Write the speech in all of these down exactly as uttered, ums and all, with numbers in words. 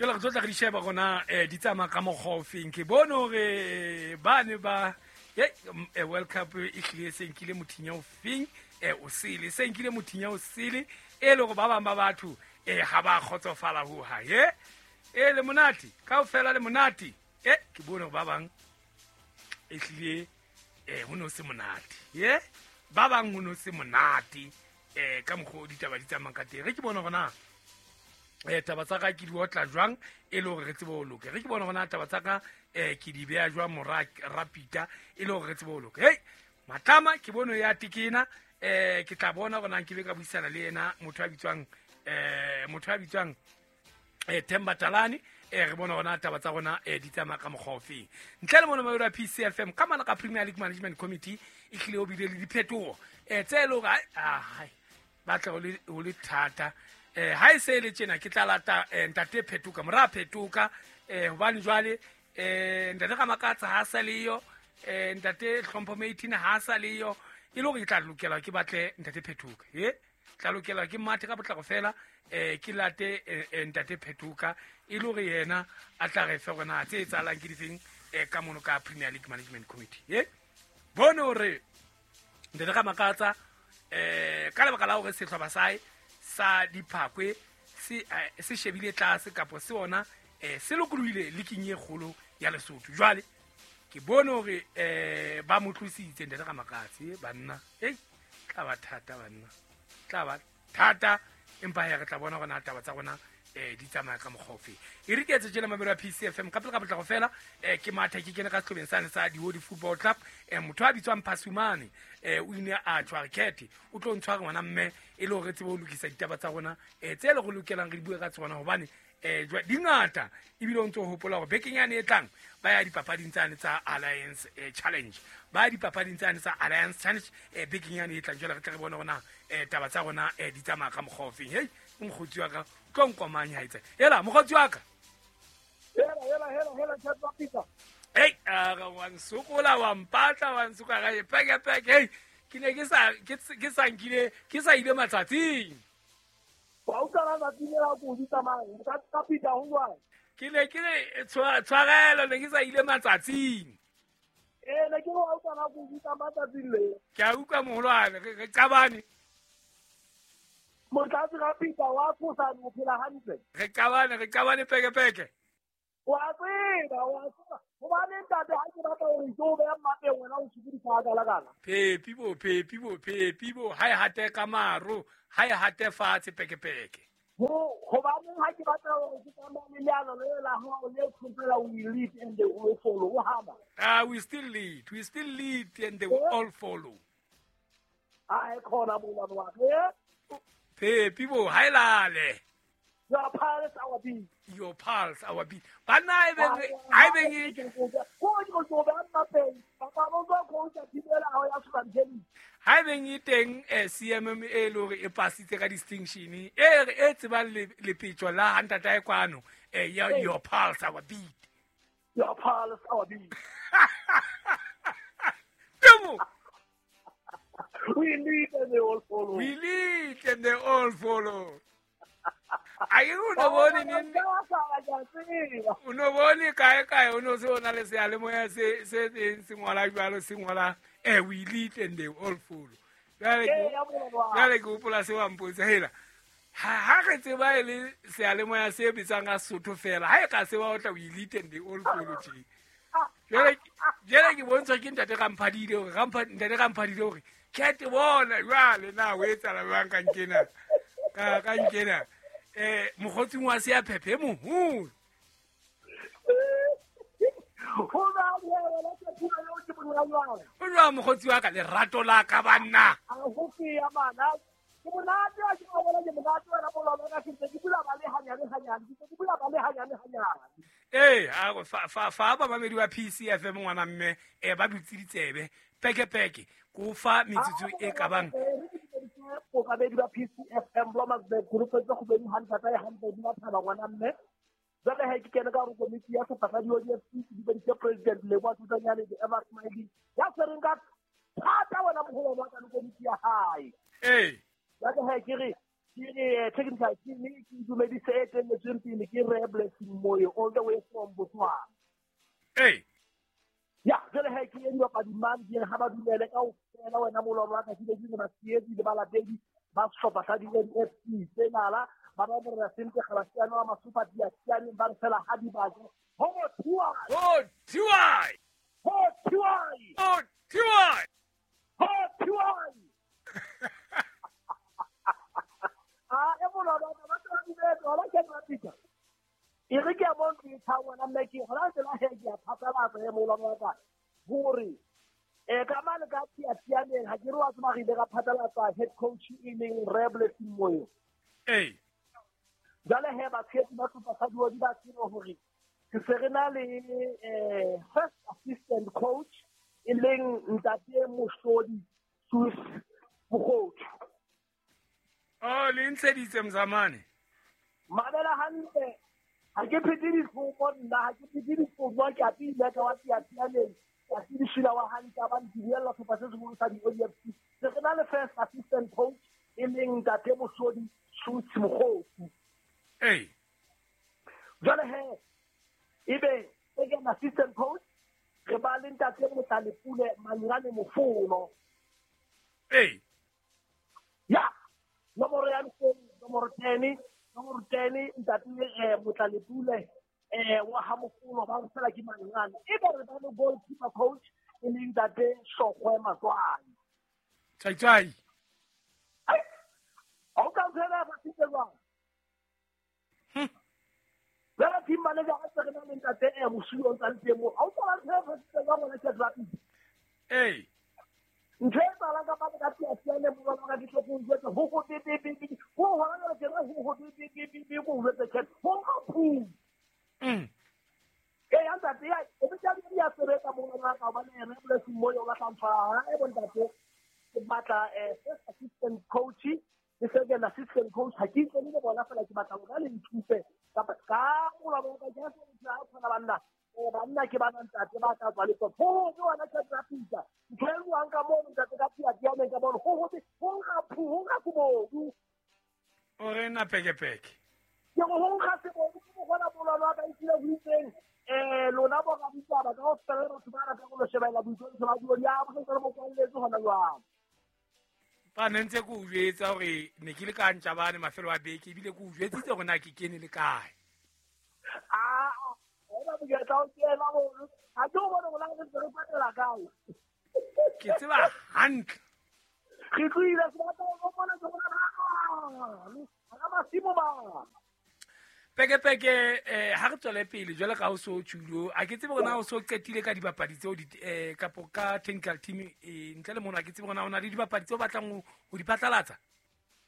Jwale re tlo tla re di sheba rona um di tsamaya ka mokgwa o feng. Ke bone hore ba ne ba World Cup e hlile se nkile mothinya o feng o sele, se nkile mothinya o sele e le hore ba bang ba batho um ha ba kgotsofala hohang. E e le monate kaofela, le monate. E ke bone hore ba bang e hlile um ho no se monate. Ye ba bang ho no se monate um ka mokgwa o ditaba di tsamayang ka teng. Re ke bone hore na eh taba tsa ka ke di otla jwang e le hore re tsebe ho loka. Re ke bone hore na taba tsa ka eh ke di beha jwang mora rapita e le hore re tsebe ho loka. Hey Matlama ke bone ya tekena eh ke tla bona hore na ke be ka buisana le yena motho a bitswang eh motho a bitswang eh Themba Talane eh re bona hore na taba tsa rona eh di tsamaya ka mokgwa o feng. Ntle le mona mayo P C F M ka mana ka Premier League Management Committee e hlile o bile le diphetoho eh tse le hore ai batla ho le ho le thata. Eh ha e se le tjena ke tla lata ntate Phetoka mora Phetoka eh hobane jwale eh ntate Ramakatsa ha sa leyo eh ntate Hlompho Meitina ha sa leyo e le hore ke tla lokela ke batle ntate Phetoka e tla lokela ke mathe ka potlako fela eh ke late ntate Phetoka e le hore yena a tla re fe rona tse etsahalang ke difeng eh ka mono ka Premier League Management Committee. E bone hore ntate Ramakatsa eh ka lebaka la hore sehlopha sa hae sa diphakwe se se shebile tlase kapo se ona eh se lokolohile leaking e kgolo ya Lesotho. Jwale ke bone hore eh ba mo tlositse ntate Ramakatsi banna. Ei tla ba thata banna, tla ba thata empa ya re tla bona rona taba tsa rona eh di tsamaya ka mokgwa ofe. E re ke etse tjena mamelo ya P C F M ka pele ka potlako fela eh ke matha ke kene ka sehlobeng sane sa Dihodi Football Club eh motho a bitswang Phasumane eh o ile a tshwara khethe o tlo ntshwara ngwana mme e le hore tsebe ho lokisa ditaba tsa rona eh tse le go lokelang re di bue ka tsona hobane eh di ngata ebile o ntso hopola hore bekeng yane e tlang ba ya dipapading tsane tsa Alliance Challenge, ba ya dipapading tsane tsa Alliance Challenge eh bekeng yane e tlang. Jwale re tla re bona rona eh taba tsa rona eh di tsamaya ka mokgwa ofeng. Hey mokgotsi wa ka tlo nkomanya haitse hela mokgotsi wa ka hela hela hela hela tsa pizza. Hey a ga wa nsokola wa mpatla wa nsoka ga peke peke. Hey ke ne ke sa ke sa nkile ke sa ile matsatsing wa utlwa la tsile go di tsamaya ka ka pizza ho jwang ke ne ke le tshwarelo ne ke sa ile matsatsing eh ne ke wa utlwa la go di tsamaya matsatsing le ke a utlwa moholwane re qabane motlatsi ga pizza wa tsosa o phela hantle re qabane re qabane peke peke wa tseba wa tseba hobane ntate ha ke batla hore ke o beha mmapeng wena o sokodisa ka la kana phepi bo phepi bo phepi bo ha e hate ka maro ha e hate fatshe peke peke ho hobane ha ke batla hore ke tsamaye le leano le la hao le khopela we lead and they will follow o hana ah we still lead we still lead and they will all follow ah e khona bo wa eh phepi bo ha e lale. Your pulse our beat. Your pulse our beat. Banna e beng ha e beng ha e beng e teng C M M e le hore e pasitse ka distinction e e tsebang lepetjo la ntata e kwano your pulse our beat. Your pulse our beat. Temo. We lead and they all follow. We lead and they all follow. A ke o no bone neng o no bone kae kae o no se ona le seyalemoya se se teng se ngola jwalo se ngola eh we lead and they all follow. Jwale jwale ke hopola se wa mpotsa hela ha ha re tseba e le seyalemoya se bitsang ka Sotho fela ha e ka se ba otla we lead and they all follow tje. Jwale jwale ke bontshwa ke ntate Ramphadile hore Rampha ntate Ramphadile hore ke bona jwale na o etsahala jwang ka nkena ka ka nkena eh mokgotsing wa se ya phephe moholo o jwa mokgotsi wa ka lerato la ka banna a go ya bana ke monate wa ke bona ke monate wa bona ka ke ke bula ba le hanyane hanyane ke bula ba le hanyane hanyane eh a fa fa fa ba mamedi wa P C F M ngwana mme eh ba dutse ditsebe peke peke go fa metsotso e ka bang bobabedi ba P C F M Blommensburg group tse go bedi hundred ya hundred ba thaba ngwana mme jwale ha ke kene ka re komiti ya sephakadi wa D F C di beditse president le kwa Tsanyane the ever smiling ya tshwereng ka thata wena moholo wa ka le komiti ya hae eh jwale ha ke re Ke re technical team ke dumedise e telletsweng pele ke Re Blessing Moyo all the way from Botswana. Hey. Ya, jwale he ke eng dibapadi mang di ha ba dumele kaofela wena molwalo wa ka ke le batshehetsi le balatedi ba sehlopha sa di-N F C tse nala ba ba morena Sente Kgalasiano wa Masupa Diasiane ba re fela ha di baje ho thiwa ho thiwa ho thiwa ho thiwa ho thiwa ah e molwalo wa ba ba dumele hona ke Afrika e re ke a bona ke tha wena mme ke hona tsela he ke a phatlalatsa e molwalo wa ka hore e ka mane ka Tiatianeng ha ke re wa tseba re ile ra phatlalatsa head coach e leng Re Blessing Moyo. Ee. Jwale he batshehetsi ba sehlopha sa Diodi ba tsebe hore ke se re na le eh first assistant coach e leng ntate Mohlodi Sus Mokgothu. Oh, le ntsheditse mzamane. Mamela hantle. Ha ke phete dikgomo nna, ha ke phete dikgomo ke a pile ka wa Tiatianeng. Ka se wa hantle ba ntiela sehlopha se seholo sa di-O D F C. Se re na le first assistant coach e leng ntate Mohlodi Sus Mokgothu. Ee. Jwale he ebe second assistant coach re ba le ntate Motlalepule Manyane Mofono. Ee. Ya, nomoro ya nomoro ten, nomoro ten ntate Motlalepule eh wa ha Mofono ba fela ke Manyane. Ebe re ba le goalkeeper coach e leng ntate Shokwe Matswane. Chai chai. Ai. Ha o ka ntshela ba sitse jwang? Jwale team manager ha se re na le ntate e Mosuwe o ntsa le teng moo. Ha o tswala ntho e fositse jwang ngwana ke rugby? Ee. Ntho e tsalang ka pele ka Tiatiane molwalo wa ka ke tlo go jwetsa ho ho be be be be. Ho hona jwale ke re ho ho be be be be be go jwetsa ke ho nka phu. Mm. Ee ya ntate ya e be tsa di ya sebetsa molwalo wa ka hobane Re Blessing Moyo o batla mfa e bo ntate ke batla eh first assistant coach le second assistant coach ha ke itlele le bona fela ke batla hore le nthuse kapa ka molwalo wa ka ke a tshwana banna eh banna ke bana ntate ba tla tswa le ho ho ke wena ke traffica ntho e buang ka mono ntate ka Tiatiane ka bona ho ho ho nka phu ho nka sebodu o re na pekepeke ke go ho nka sebodu ke bona molwalo wa ka itile ho itseng eh lona bo ka ditaba ka ho fela batho ba ratang go shebella boitshwaro ba diodi ya bo se re bo kwalletse hona jwang. Ba ne ntse ke o jwetsa hore ne ke le ka Ntjabane mafelo a beke ebile ke o jwetsitse hore na ke kene le kae. Ah, ena monyetla o kena mono. Ha ke o bone hore na re ntse re patela kae. Ke tseba hantle. Re tlohile sebaka o bona ke bona ha masimo ba. Peke peke eh ha re tswele pele jwale ka o so tjulo a ke tsebe hore na o so qetile ka dibapadi tseo di eh kapo ka technical team eh ntle le mona ke tsebe hore na o na le dibapadi tseo batlang ho di phatlalatsa.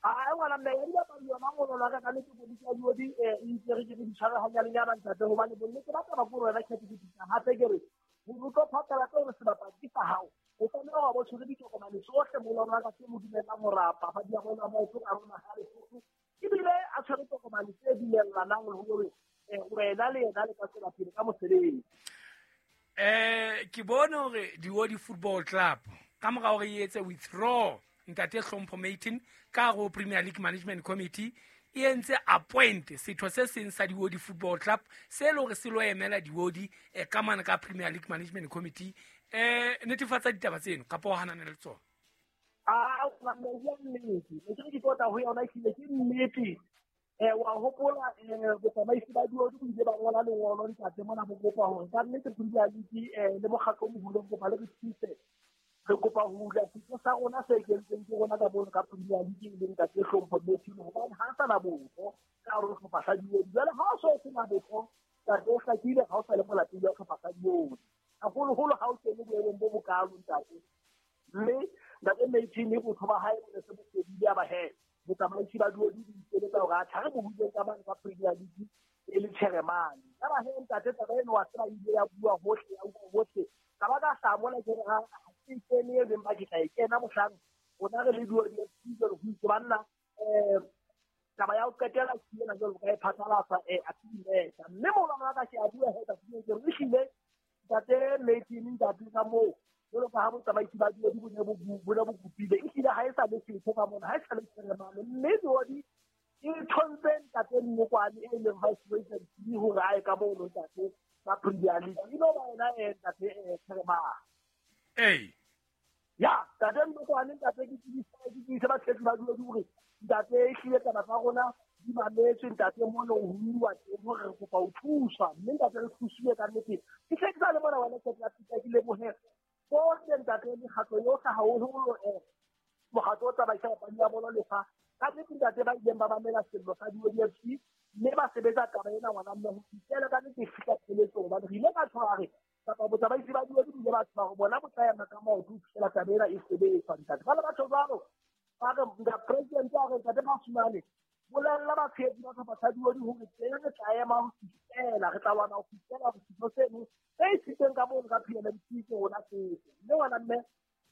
Ah ngwana mme ya dibapadi yona ngolo la ka ka le ke bodisa diodi eh itse re ke di tshwara hanyane ntate hobane bonnete ba taba go rona ke ke hape ke re ho tlo phatlalatsa hore sebapadi ke sa hao o tlameha ho bo tshwere ditokomane tsohle molwalo wa ka tse mo dumellang hore papadi ya bona maoto ka rona ha Lesotho ebile a tshwere tokomane tse dumellanang le hore wena le yena le ka tswela pele ka mosebetsi. Eh ke bone hore Diodi Football Club ka mora hore e etse withdraw ntate Hlompho Matin ka ho Premier League Management Committee e entse appoint setho se seng sa Diodi Football Club se le hore se lo emela Diodi eh, ka mane ka Premier League Management Committee eh netefatsa ditaba tseno kapa o hanana le tsona. Ah, o nnete ne ke re ke tota ho yona ehlile ke nnete. Eh wa hopola eh botsamaisi ba Diodi bo ile ba ngola lengolo ntate mona bo kopa hore ka nnete Premier League eh le mokgatlo o moholo o kopa le re thuse re kopa ho hula setho sa rona se kentseng ke rona ka mono ka Premier League e leng ntate Hlompho Matin hobane ha sa na botho ka hare ho sehlopha sa Diodi. Jwale ha o so sena botho ntate o hlakile ha o sa le molatedi wa sehlopha sa Diodi haholoholo ha o kene boemong bo bokalo ntate. Mme ntate Matin botho ba hae bo ne se bo fedile a ba he botsamaisi ba Diodi di ikeletsa hore a tlhare bo huleng ka mane ka Premier League e le chairman. Ya ba he ntate taba eno wa tseba ile ya bua hohle ya bua hohle ka ba ka hlaha mona ke re ha ke kene e leng ba ke tla e kena mohlang rona re le Diodi F C jwale ho itse banna eh taba ya ho qetela ke ena jwalo ka e phatlalatsa eh a timeta mme molwalo wa ka ke a bua he ka ke re ehlile ntate Matin ntate ka moo jwalo ka ha botsamaisi ba Diodi bo ne bo bo ne bo kopile ehlile ha e sa le setho ka mona ha e sa le chairman mme Diodi E thontse ntate Mmokwane e leng vice president hore a ye ka mono ntate ka Premier League. E no ba yena e ntate Theremane. Ee. Ya, ntate Mmokwane ntate ke tsebisa ke tsebisa batshehetsi ba dule hore ntate e hlile taba tsa rona di mametswe ntate mono ho buuwa teng hore re kopa ho thuswa mme ntate re thusiwe ka nnete. Ke hle ke sa le mona wena ke tla fihla ke lebohe bohle ntate mekgatlo yohle haholoholo eh mokgatlo o tsamaisang papadi ya bolo lefa ka nnete ntate ba ileng ba mamela sello sa di-O D F C mme ba sebetsa taba ena ngwana mme ho fihlela ka nnete e fihla pheletsong hobane re ile ka tshwara re kapa botsamaisi ba di-O D bile ba tshwara hore bona bo tla ema ka maoto ho fihlela taba ena e sebetswa ntate. Jwale batho jwalo ba re nka president a re ntate Mashimane bolella batshehetsi ba sehlopha sa di-O D hore teng re tla ema ho fihlela re tla lwana ho fihlela setho seno se isitseng ka mono ka P L M C ke rona seo. Mme ngwana mme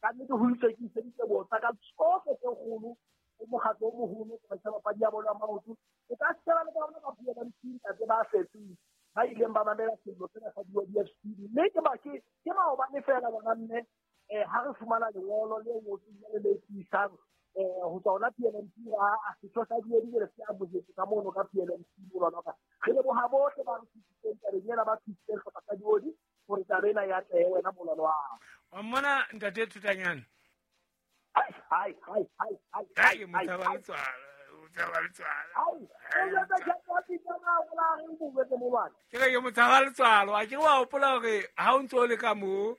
ka nnete ho itswe ke iseditse botsa ka tsohle tse kgolo o mokgatlo o moholo o tsamaisa papadi ya bolo ya maoto. O ka sheba le ka bona ka P L M C ntate ba setseng ba ileng ba mamela sello sena sa di-O D F C mme ke ba ke ke maobane feela bona mme eh ha re fumana lengolo le ngotsweng le le tiisang eh ho tswa hona P L M C a setho sa di-O D le se amohetse ka mono ka P L M C molwana ka re leboha bohle ba re thusitseng tabeng ena ba thusitseng sehlopha sa di-O D hore taba ena ya atlehe wena molwana wa wa mmona ntate Thutanyane. Ai ai ai ai ai ai motshaba letswalo motshaba letswalo ke re ke motshaba letswalo a ke wa hopola hore ha o ntso o le ka moo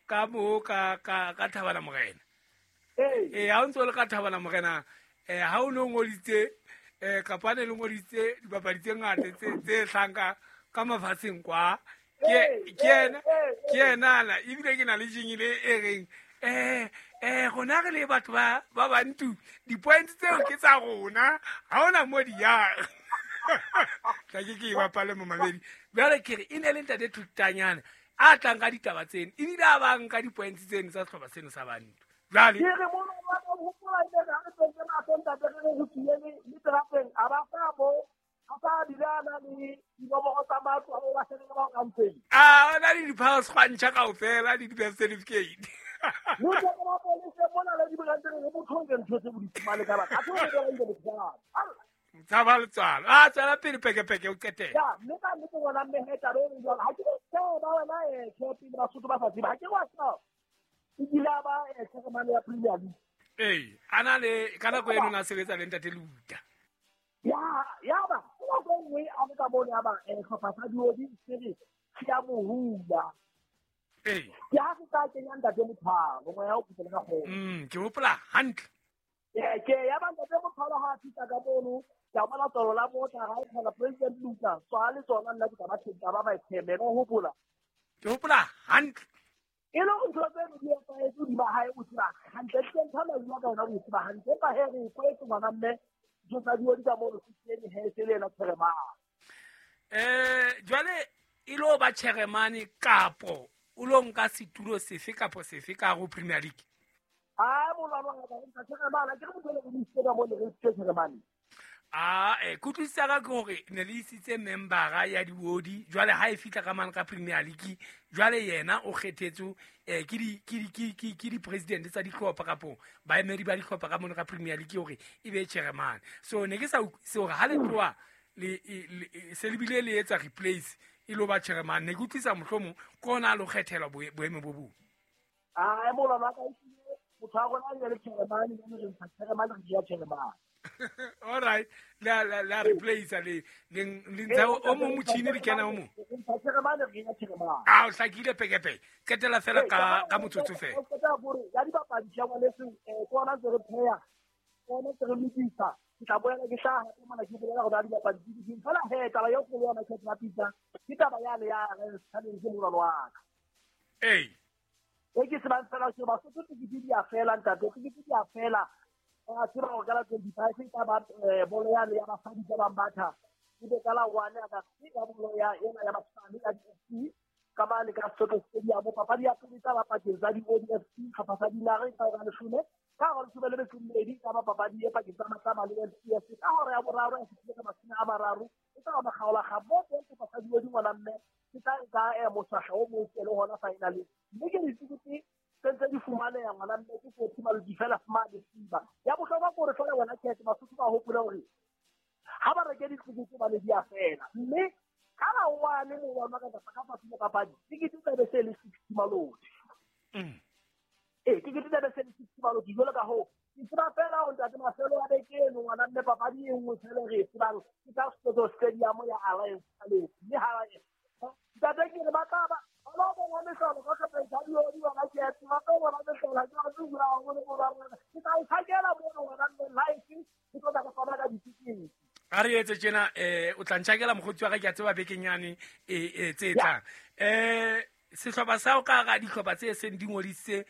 ka moo ka ka ka Thabana Morena. Ee, ha o ntso le ka Thabana Morena eh ha o no ngoditse eh kapa ne le ngoditse dipapadi tse ngata tse tse hlanka ka mafatsheng kwa ke ke ena ke ena la ebile ke na le jingile e reng eh eh rona re le batho ba ba bantu di-points tseo ke tsa rona ha ona mo di ya tla ke ke bapale mo mamedi jwale ke re e ne le ntate Thutanyane a tlang ka ditaba tseno ebile a bang ka di-points tseno tsa sehlopha seno sa bantu. Jwale ke re mono wa ka hopola ile ha re tsentse mahlo ntate re re ho tswile le terateng a ba sa bo a sa bile a na le dinomoro tsa matlo a ba shebile ba ka ntseng a na le di-power sgwantšha kaofela le di-birth certificate. Motho wa police mona le dibrand re motho o ntho tse bo di fumane ka batho a tlo re le botjana tshaba letswalo a tswela pele pekepeke o qetela ya mme ka nnete ngwana mme he taba e jwalo ha ke tseba wena eh Khepe le Basotho ba sa tseba ha ke wa tseba e kile a ba eh chairman ya Premier League. Ee ana le ka nako eno na sebetsa le ntate Luta ya ya ba o go nngwe a le ka mono ya ba eh sehlopha sa di-O D se re se a mo hula. Ee ke ha se tla kenya ntate Mothwalo moya o phutela ka kgolo. Mm ke hopola hantle. Ee ke ya ba ntate Mothwalo ha a fihla ka mono ke a bona tswalo la motla ha e thola president Luta tswa le tsona nna ke tla ba tla ba ba chairman o hopola ke hopola hantle e le ntho tse di etsahetse hodima hae o tseba hantle tle ntho la bua ka yona o tseba hantle empa he re kwetse ngwana mme ntho tsa di-O D ka mono se tsene he se le ena chairman. Eh jwale e lo ba chairman kapo o lo nka setulo sefe kapo sefe ka go Premier League? Ah molwana wa ka nka chairman ke re motho le mo ka mono re se chairman. Ah eh kutlwisisa ka ke hore ne le isitse membera ya di-O D jwale ha e fihla ka mane ka Premier League jwale yena o kgethetswe eh ke di ke di ke ke di-president tsa dihlopha kapo baemedi ba dihlopha ka mono ka Premier League hore e be chairman. So ne ke sa utlwisise hore ha le tloha le se le bile le etsa replace e lo ba chairman ne ke utlwisa mohlomong ke ona a lo kgethelwa boemo bo bong. Ah molwana ka isile motho wa rona le chairman le re ntsha chairman re dia chairman. All right la la la replace le le ntsha o mo motjhini le kena o mo a o hlakile pekepeke qetela fela ka ka motsotso fela o qeta gore ya dibapadi tsa ngwaneso eh ke ona tse re pheya ona tse re lokisa ke tla boela ke hlaha hape mona ke bolela gore dibapadi di di fela he taba ya go yona ke tla pitsa ke taba ya le ya re challenge molwana wa ka ee e ke se ba fela ke ba sotho ke di ya fela ntate ke di ya fela a tseba hore ka la twenty-five e tla ba bolo ya le ya basadi ba bang batha e be ka la one ya ka ya bolo ya ena ya basadi ya D F C ka mane ka Soweto Stadium papadi ya pele tsa ba pakeng tsa di-O D F C sehlopha sa Dinare ka hora leshome ka hora leshome le metso e mmedi ka ba papadi e pakeng tsa Matlama le L C S ka hora ya boraro ya fihlile ka mashome a mararo e tla ba makgaola ga mo teng sehlopha sa di-O D ngwana mme ke tla nka moswahla o mong le hona finale mme ke ditsikete tse di fumaneha ngwana mme ke forty malodi fela fumane fiba ya bohlokwa ke hore feela wena Khepe Basotho ba hopole hore Ha ba reke ditikete ba le di a fela. Mme ka ba one mo wa maka ka ka fa papadi. Tikete tsa be se le sixty maloti. Mm. Eh, tikete tsa be se le sixty maloti jwalo ka ho. Ke tseba fela hore ntate mafelo a beke eno ngwana mme papadi e nngwe fela re e tsebang ke ka Soweto Stadium ya Alliance Palace. Mme ha ntate ke re ba tla ba ba bona mehlolo ka kgapetsa diodi ba ba ke ba tla bona mehlolo ke ba bua haholo mo ba rona. Ke tla o tshakela mono ngwana mme live ke tlo tla ka fana ka ditikete. A re etse tjena eh o tla ntjhakela mokgotsi wa ka ke a tseba bekeng yane e tse tlang. Eh sehlopha sa o ka ga dihlopha tse seng di ngodisitse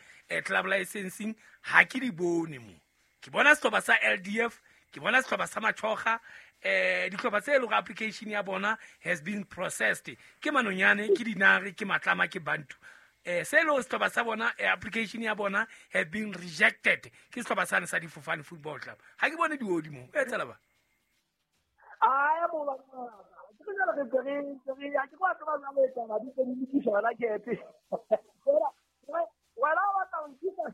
club licensing ha ke di bone mo. Ke bona sehlopha sa L D F, ke bona sehlopha sa Machoga, eh dihlopha tse leng application ya bona has been processed. Ke Manonyane, ke Dinare, ke Matlama, ke Bantu. Eh se leng sehlopha sa bona application ya bona have been rejected. Ke sehlopha sa sa Difofane Football Club. Ha ke bone diodi mo. E tsela ba. Ae mo ba ke jalo re re re ya ke kwa tseba jalo e taba di tse di lokiswa hona kepe. Wena wena wa tla o nkisa.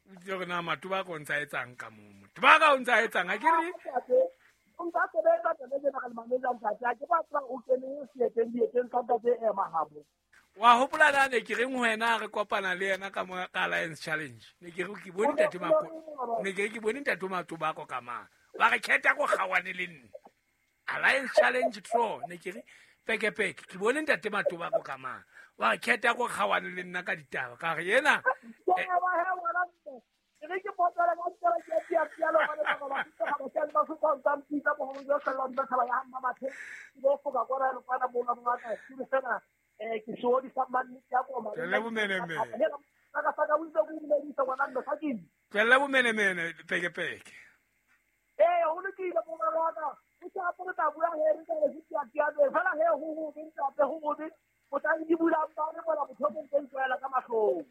O itse hore na Matuba ka o ntsa etsang ka moo. Matuba ka o ntsa etsang ha ke re o ntsa sebetsa taba tsena ka le manager ntate ha ke ba tseba o kene seeteng dieteng tsa ntate e mahabo. Wa hopola na ne ke reng ho wena re kopana le yena ka mo ka Alliance Challenge. Ne ke re ke bone ntate Mako. Ne ke re ke bone ntate Matuba ko ka mang. Ba re khetha go gawane le nna. Alliance Challenge draw ne ke re peke peke ke bone ntate Matuba ko ka mang. Wa re khetha go gawane le nna ka ditaba ka re yena ke ba he wona ke re ke potela ka tsela ke ya piano ba ba ba ba ba ba ba ba mpitsa bo ho jo sala ba ba ya mma bathe ke bo foka kwa re kwana bona ba ka ke fela eh ke soodi sa manne ya koma le bomenemene ka ka ka o itse go dumedisa ngwana mme fa ke tswella bomenemene peke peke. Eh ho lokile bo ba ka o tla apore tla bua he re ka le tsia tsia fela he ho ho be ntate ho ho be o tla di bula ba re bona botho bo ntse tswela ka mahlong.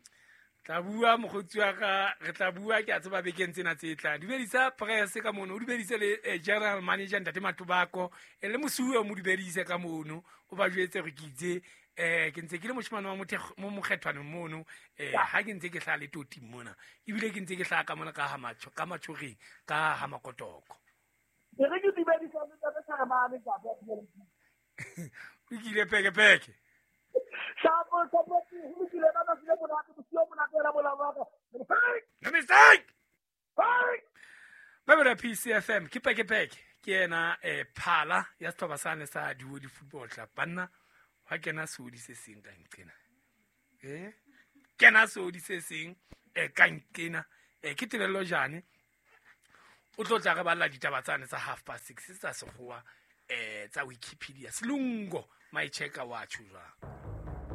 Tla bua mokgotsi wa ka re tla bua ke a tseba bekeng tsena tse tlang. Dumedisa press ka mono, o dumedise le general manager ntate Matubako e le mosuwe o mo dumedise ka mono o ba jwetse re ke itse eh ke ntse ke le moshemane wa mothe mo mokgethwane mono eh ha ke ntse ke hla le toti mona ebile ke ntse ke hla ka mona ka ha matsho ka matshogeng ka ha makotoko. Ke re ke dumedisa ntate Tsharamane ka ba o kile peke peke. Shapo shapo ho lokile ba ba sile monate bosiu monate la bola ba ka. No mistake. Ba ba P C F M ke peke peke ke yena eh phala ya sehlopha sane sa Diodi Football Club banna ha kena seodi se seng ka nqena. Eh kena seodi se seng eh ka nqena eh ke Tebello Jane o tlo tla re balla ditaba tsane tsa half past six tsa sekgowa eh tsa Wikipedia Selungo my checker wa tjho jwang.